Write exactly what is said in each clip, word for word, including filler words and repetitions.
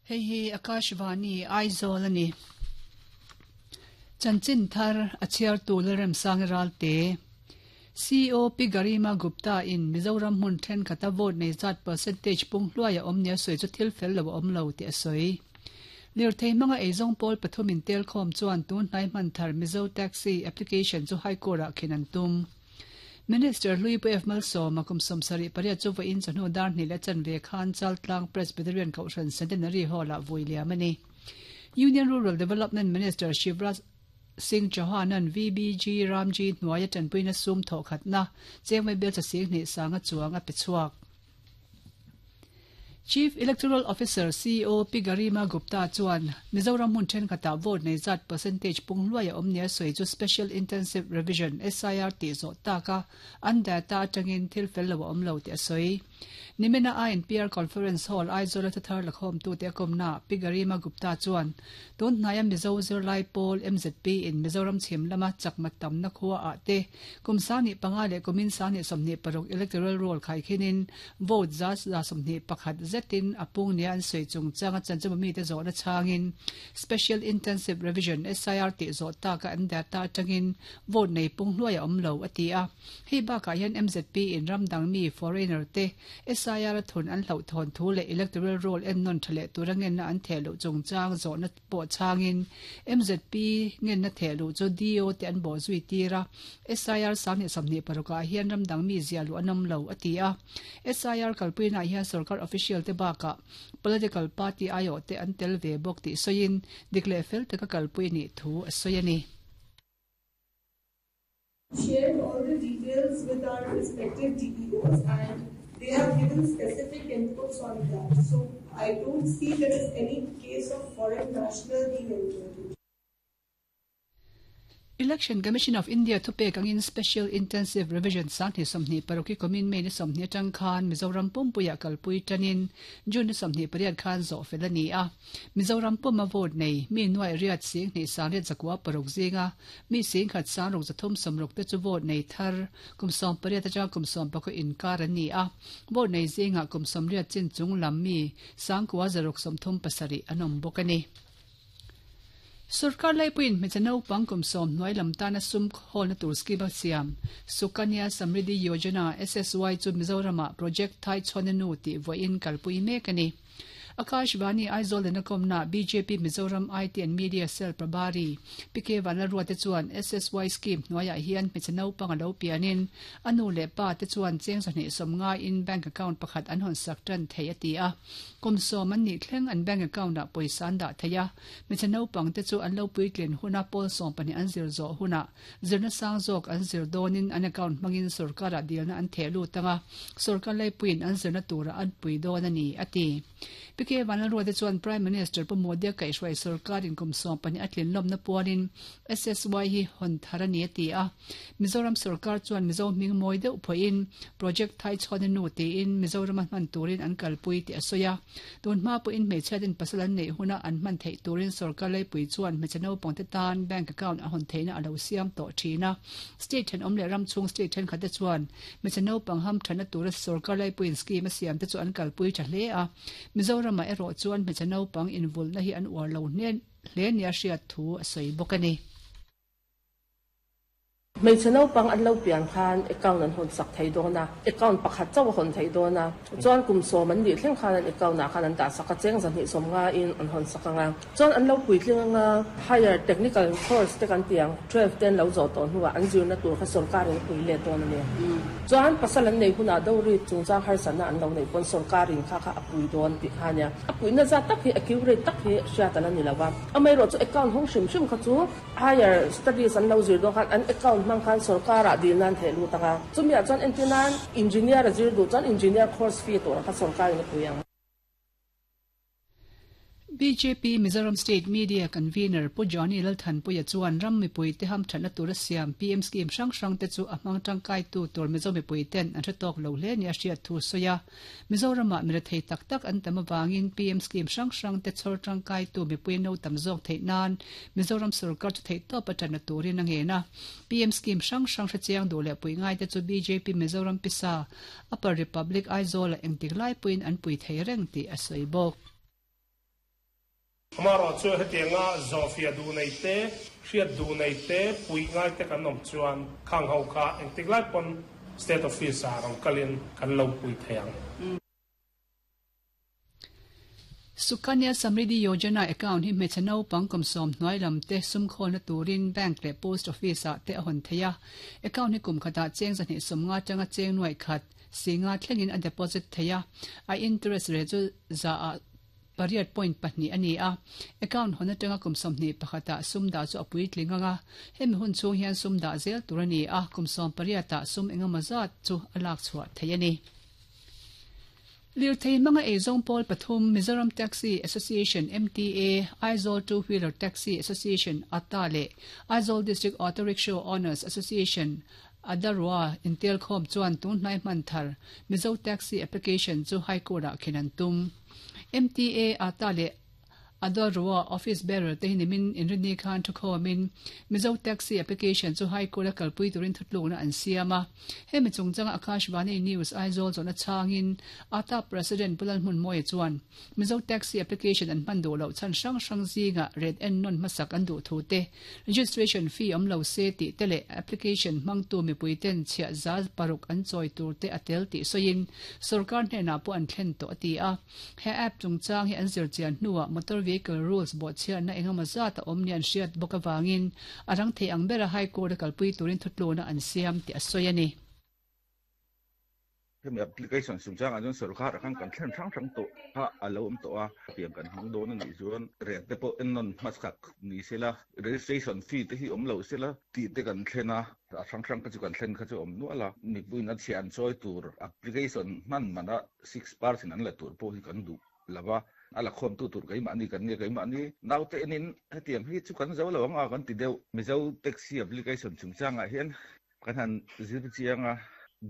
Hei hi Akashvani Aizawl ani. Chanchin thar a chhiartu Lalremsanga Ralte. C E O Pi Garima Gupta in Mizoram hmun thenkhat a vote nei zat percentage pung hluai a awm nia sawi chu thil fel lo a awm lo tih a sawi. Lirthei hmanga eizawng pawl pathum in tel khawm chuan tun hnai hman thar Mizo Taxi application chu High Court ah khin an tum. Minister Hlui Pu F Malsawma kum sawmsarih pariat chu vawiin chawhnu dar hnih leh chanve khan Chaltlang Presbyterian Kohhran Centenary Hall ah vui liam a ni. Union Rural Development Minister Shivraj Singh Chauhan-a'n V B G Ramji hnuaia tanpuina sum thawhkhatna chengmai bel chasing hnih sanga chuang a pe chhuak. Chief Electoral Officer C E O Pi Garima Gupta chuan Mizoram hmun thenkhatah vote nei zat percentage pung hluai a awm nia sawi chu Special Intensive Revision S I R tih zawh taka an data atangin thil fel lo a awm lo tih a sawi. Nimina I N P R Conference Hall Aizawl a thuthar lakhawmtute a kawmna Pi Garima Gupta chuan tun hnaia Mizo zirlai pawl M Z P in Mizoram chhim lama chakma tamna khua ah te kum sangni panga leh kumin sangni sawmhnih paruk electoral roll khai khinin vote za za sawmhnih pakhat zetin a pung nia an sawi chungchanga chanchawm mite zawhna changin Special Intensive Revision S I R tih zawh taka an data atangin vote nei pung hluai a awm lo a ti a. Hei bakah hian M Z P in ramdang mi foreigner te S I R a thun an hloh thawn thu leh electoral roll en nawn tha leh tura ngenna an theh loh chungchang zawhna pawh changin M Z P ngenna theh loh chu D O te an bawh zui tir a. S I R sanghnih sawmhnih parukah hian ramdang mi zia luh an awm lo a ti a. S I R kalpuinah hian sarkar official te bakah political party aiawh te an tel ve bawk tih sawiin dik leh fel taka kalpui nih thu a sawi a ni. Shared all the details with our respective D E Os and they have given specific inputs on that. So I don't see there is any case of foreign national being entered. Election Commission of India thupek angin Special Intensive Revision sanghnih sawmhnih paruki kumin May ni sawmhnih atang khan Mizoram pumpuia kalpui tanin June ni sawmhnih pariat khan zawh fel a ni a. Mizoram puma vote nei mi nuai riat sing hnih sangriat zakua paruk zinga mi sing khat sangruk zathum sawmruk te chu vote nei thar kum sawm pariat atanga kum sawm pakhaw inkar an ni a. Vote nei zinga kum sawmriat chin chung lam mi sangkua zaruk sawmthum pasarih an awm bawk a ni. Sarkar laipuin hmeichhe naupang kum sawm hnuai lam tana sum khawlna tur scheme a siam Sukanya Samriddhi Yojana S S Y chu Mizorama project thai chhuana nu tih vawiin kalpui mek a ni. Akashvani Aizawl lehna kawmna B J P Mizoram I T and Media Cell Prabhari P K Vanlalruate chuan S S Y scheme hnuaiah hian hmeichhe naupang a lo pianin a nu leh pa te chuan cheng sawhnih sawm ngaiin bank account pakhat an hawn sak tan thei a ti a. Kum sawm an nih thleng an bank account ah pawisa an dah thei a. Hmeichhe naupang te chu an lo puitlin huna pawl sawm pahnih an zir zawh huna zirna sang zawk an zir dawnin an account hmangin sarkarah dilna an theh lut anga sarkar laipuiin an zirna turah an pui dawn a ni a ti. P K Vanlalruate chuan Prime Minister Pu Modi a kaihhruai sarkarin kum sawm pahnih a tlin lawmna puanin S S Y hi hawn thar a ni a ti a. Mizoram sarkar chuan Mizo hming mawi deuh phawiin project thai chhuana nu tiin Mizoram a hman turin an kalpui tih a sawi a. Tun hma pawhin hmeichhiatin pasal an neih huna an hman theih turin sarkar laipui chuan hmeichhe naupang te tan bank account a hawn theihna a lo siam tawh thin a. State thenawm leh ram chhung state thenkhat te chuan hmeichhe naupang ham thana tura sarkar laipuiin scheme a siam te chu an kalpui tha hle a. Mizoram a erawh chuan hmeichhe naupang invulna hi an uar lo hne hle nia hriat thu a sawi bawk a ni. Hmeichhe naupang an lo pian khan account an hawn sak thei dawn a, account pakhat chauh a hawn thei dawn a, chuan kum sawm an nih thleng khan an account ah khan an dah sak a, cheng zahnih sawm ngaiin an hawn sak anga, chuan an lo puitling anga higher technical course te kan tiang twelve ten lo zawh tawh hnuah an zirna tur kha sarkarin a pui let dawn a ni. Chuan pasal an nei hunah dori chungchang harsatna an lo nei pawn sarkarin kha kha a pui dawn tih kha ania. A puina zat tak hi accurate tak hi hriat ala ni lo a, amaherawh chu account hawng hrim hrim kha chu higher studies an lo zir dawn khan an account hmang khan sarkarah dilna an theh lut anga, chumiah chuan entinan engineer a zir duh chuan engineer course fee tur kha sarkarin a pui ang. B J P Mizoram State Media Convener Pu Johnny Lalthanpuia chuan ram mipui te ham thatna tura siam P M scheme hrang hrang te chu a hmang tangkai tu tur Mizo mipui ten an hre tawk lo hle ni a hriat thu sawi a. Mizorama mi rethei tak tak an tam awangin P M scheme hrang hrang te chhawr tangkai tu mipui no tam zawk theih nan Mizoram sarkar chu theih tawp a tana turin a ngen a. P M scheme hrang hrang hre chiang duh leh pui ngai te chu B J P Mizoram Pisa Upper Republic Aizawl a engtik lai puiin an pui thei reng tih a sawi bawk. Amaro chu hetianga zofia du nei te hriat du nei te pui ngai te kan awm chuan khang ho kha engtik lai pawn state office a rong kalin kan lo pui theiang. Sukanya Samriddhi Yojana account hi hmeichhe naupang kum sawm hnuai lam te sum khawlna turin bank leh post office ah te a hawn thei a. Account hi kum khatah cheng zahnih sawmnga atanga cheng nuai khat singa thlengin a deposit thei a. A interest rate chu za ah pariat point pahnih a ni a. Account hawn atanga kum sawmhnih pakhatah sum dah chu a puitling anga. Hemi hun chhung hian sum dah zel tur a ni a. Kum sawm pariatah sum engemaw zat chu a lak chhuah thei a ni. Lirthei manga eizawng pawl pathum Mizoram Taxi Association M T A, Aizawl Two Wheeler Taxi Association A T A leh Aizawl District Auto Rickshaw Owners Association Adarua intel khawm chuan tun hnai hman thar Mizo Taxi Application chu High Court ah khen an tum. M T A, A T A leh Adarua Office Bearer te hi nimin inrini khan thu khawmin Mizo Taxi Application chu High Court a kalpui turin thutlukna an siam a. Hemi chungchanga Akashvani News Aizawl zawhna changin A T A President Pulal Hmun Mawia chuan Mizo Taxi Application an hman duh loh chhan hrang hrang zinga ret en non hmasak an duh thu te, registration fee awm lo se tih te leh application hmangtu mipui ten chhiah za paruk an chawi tur te a tel tih sawiin sarkar hnenah pawh an thlen tawh a ti a. He app chungchang hi an zir chian hnuah motor vehicle rules bawh chhiatna engemaw zat a awm ni an hriat bawk awangin a rang thei ang bera High Court a kalpui turin thutlukna an siam tih a sawi a ni. Hemi application chungchangah chuan sarkar khan kan thlen hrang hrang tawh kha a lo awm tawh a. Tiang kan hmang dawn a nih chuan rate te pawh en nawn hmasak ni sela, registration fee te hi awm lo sela tih te kan thlen a. A hrang hrang kha chu kan thlen kha chu awm nual a. Mipuiin a chhiah an chawi tur application hman mana six percent an la tur pawh hi kan duh lova. A la khawm tu tur keimahni kan nge keimahni naute enin hetiang hi chu kan zo lo anga kan ti deuh. Mizo Taxi Application chungchangah hian kan han zir chianga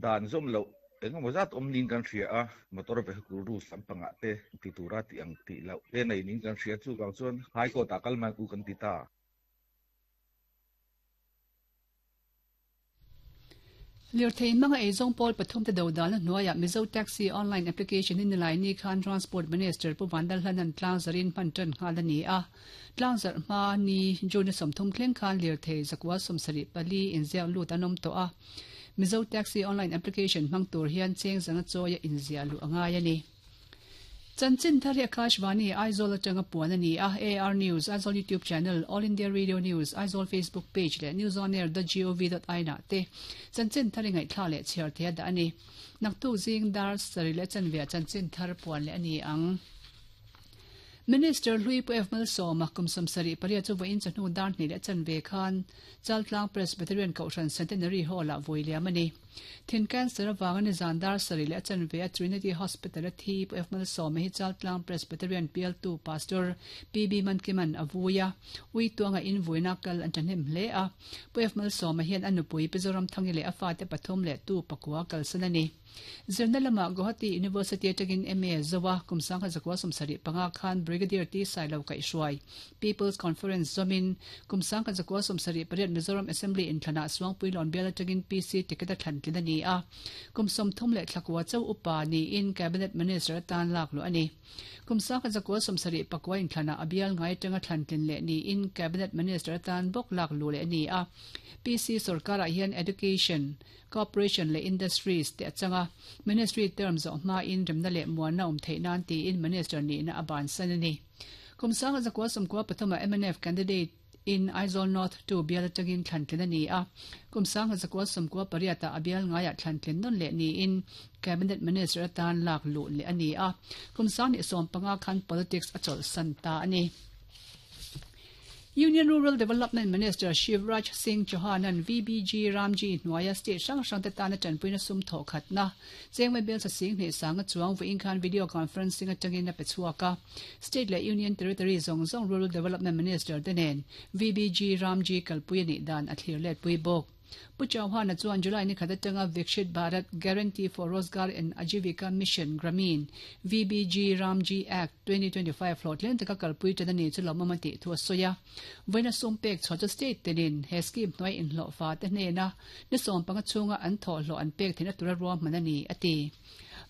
dan zawm loh engemaw zat awm nin kan hria a. Motor vehicle rules lampangah te ti tura ti ang tih loh te nei nin kan hria chu vang chuan High Court ah kal mai u kan ti ta. Lirthei manga eizawng pawl pathum te do dalna hnuaiah Mizo Taxi Online Application in nilai ni khan Transport Minister Pu Vandal Hlanan tlang zarin hman tan nghal a ni a. Tlang zar hma ni June sawmthum thleng khan lirthei zakua sawmsarih pali inziak lut an awm tawh a. Mizo Taxi Online Application hmang tur hian cheng zanga chawia inziah luh a ngai a ni. Chanchin thar hi Akashvani Aizawl atanga puan a ni a. A R News, Aizawl YouTube channel, All India Radio News, Aizawl Facebook page leh newsonair dot gov dot in ah te chanchin thar i ngaihthla leh chhiar thei a dah a ni. Naktuk zing dar sarih leh chanveah chanchin thar puan leh a ni ang. Minister Hlui Pu F Malsawma kum sawmsarih pariat chu vawiin chawhnu dar hnih leh chanve khan Chaltlang Presbyterian Kohhran Centenary Hall ah vawi liam a ni. Thin cancer awanga ni zan dar sarih leh chanve a Trinity Hospital a thi Pu F Malsawma hi Chaltlang Presbyterian P L two Pastor P B Mankiman a vui a. Ui tuanga in vuina kal an thahnem hle a. Pu F Malsawma hian a nupui Mizoram Thangi leh a fate pathum leh tu pakua kalsan a ni. Zirna lama Guwahati University atangin M A Zowa kum sangha zakua sawmsarih panga khan Brigadier T Sailo Kaihhruai People's Conference zawmin kum sangha zakua sawmsarih pariat Mizoram Assembly inthlana Suangpui lawn bial atangin P C ticket a thlan tlin a ni a. Kum sawmthum leh thlakua chau upa niin Cabinet Minister atan lak luh a ni. Kum sangha zakua sawmsarih pakua inthlana a bial ngai atanga thlan tlin leh niin Cabinet Minister atan bawk lak luh leh a ni a. P C sarkarah hian Education, Corporation leh Industries te atanga Ministry term zawh hma in remna leh muanna awm theih nan tiin Minister nihna a ban san a ni. Kum sanga zakua sawmkua pathuma M N F candidate in Aizawl North two bial atangin thlan tlin a ni a. Kum sanga zakua sawmkua pariatah a bial ngaiah thlan tlin nawn leh niin Cabinet Minister atan lak luh leh a ni a. Kum sang ni sawm panga khan politics a chawlh san ta a ni. Union Rural Development Minister Shivraj Singh Chauhan an V B G Ramji hnuaia state hrang hrang te tana tanpuina sum thawh khatna chengmai bel sa sing hnih sanga chuang vawiin khan video conferencing atangin a pe chhuak a. State leh Union Territory zawng zawng Rural Development Minister te nen V B G Ramji kalpui a nih dan a thlir let pui bawk. Pu Chauhan a chuan July ni khat atanga Viksit Bharat Guarantee for Rozgar and Ajivika Mission Gramin V B G Ramji Act twenty twenty-five hlawhtling taka kalpui tan a ni chu lawmawm a tih thu a sawi a. Vawiina sum pek chhuah chu state tenin he scheme hnuai inhlawh fa te hnena ni sawm panga chhunga an thawh hlawh an pek theihna tura ruahman a ni a ti.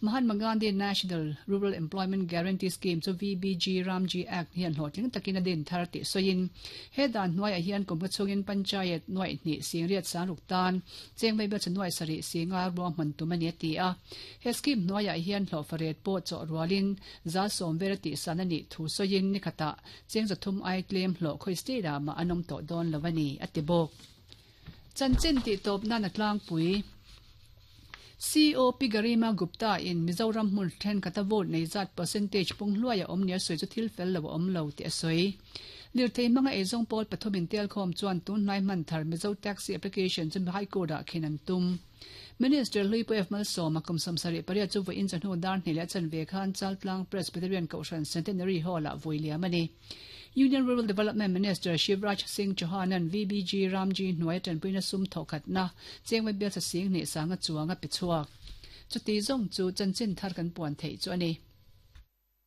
Mahatma Gandhi National Rural Employment Guarantee Scheme chu V B G Ramji Act hian hlawhtling takin a din thar tih sawiin he dan hnuaiah hian kum chhungin panchayat nuai hnih singriat sangruk tan cheng mai bel chu nuai sarih singa ruahman tum a ni a ti a. He scheme hnuaiah hian hlawhfaret pawh chaw rualin za sawm vel a tih san a nih thu sawiin ni khatah cheng zathum ai tlem hlawh khawi state ah mah an awm tawh dawn lo a ni a ti bawk. Chanchin tih tawp nan a tlangpui. C O P Garima Gupta in Mizoram hmun thenkhat a vote nei zat percentage pung hluai a awm nia sawi chu thil fel lo a awm lo tih a sawi. Lirthei hmanga eizawng pawl pathum in tel khawm chuan tun hnai hman thar Mizo Taxi application chu High Court ah khin an tum. Minister Hlui Pu F Malsawma kum sawm sarih pariat chu vawiin chawhnu dar hnih leh chanve khan Chaltlang Presbyterian Kohhran Centenary Hall ah vui liam a ni. Union Rural Development Minister Shivraj Singh Chauhan an V B G Ramji hnuai tanpuina sum thawkhatna chengmai bel sa sing hnih sanga chuanga pe chhuak. Chuti zawng chu chanchin thar kan puan theih chu a ni.